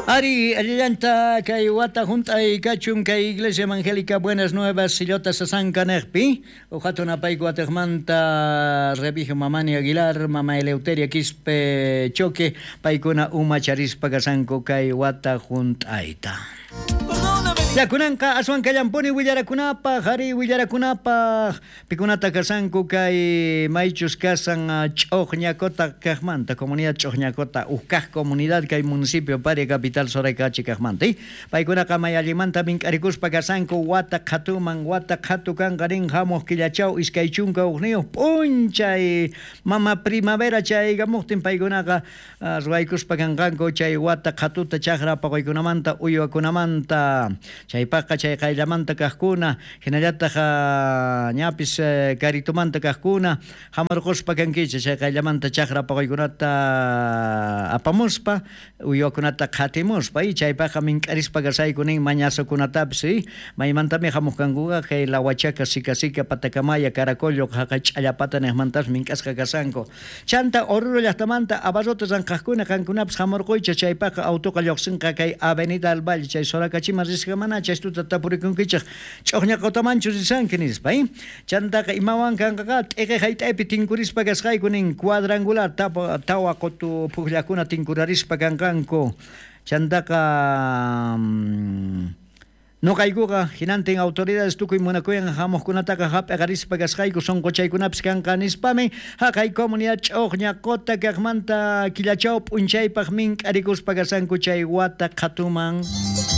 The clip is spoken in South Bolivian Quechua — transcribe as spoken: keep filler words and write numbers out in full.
Ari, allillanta kay wata junt'ay kachun kay Iglesia Evangélica Buenas Nuevas Sillota Sasanka nejpi, uqatun apayku watejmanta Remigio Mamani Aguilar, Mama Eleuteria Quispe Choque, paykuna umacharispa kasanku kay wata junt'ayta. Ya kunanqa aswan kallampuni willarakunapaq, ari willarakunapaq, pikunata kasanku kay maychus kasan Ch'uqñacota kaqmanta, comunidad Ch'uqñacota, ukkaq comunidad kay municipio Paria capital Soracachi kaqmanta. Paykunaqa may allimanta mink'arikuspa kasanku wata qhatuman, wata qhatu kanqa rin hamuq killachaw iskay chunka hukniyuq p'unchay mama primavera chaygamuqtin paykunaqa ruwaykuspa kanqanku chay wata qhatuta chaqra paquykunamanta uywakunamanta. Chaypaqqa chay qayllamanta kaqkuna, hinallataq ñapis karitumanta kaqkuna, hamurquspa kankichik chay qayllamanta chaqra paquykunata apamuspa, uywakunata qhatimuspa, y chaypaqqa mink'arispa kasayku nin mañasukunatapis, y maymantami hamuq kankuqa kay Lahuachaca, Sica Sica, Patacamaya, Caracollo, haqay Ch'allapata niqmantas mink'asqa kasanku. Chanta Oruro llaqtamanta abarrotes ranqaqkuna qankunapis hamurquychik, chaypaqqa autoqa lluqsinqa kay Avenida al Valle, chay Soracachiman risqa mana chaystuta tapurikunkichik Ch'uqñaqutamanchu risanki nispa, eh? Chantaqa imawan kanqaqa t'iqi hayt'aypi tinkurispa kasqayku nin cuadrangular tawa qutu pukllakuna tinkurarispa kanqanku. Chantaqa noqaykuqa hinantin autoridades tukuy munakuyan hamuqkunataqa hap'iqarispa kasqayku sunquchaykunapis kanqa nispami haqay comunidad Ch'uqñaqota kaqmanta killachaw p'unchaypaq mink'arikuspa kasanku chay wata qhatuman.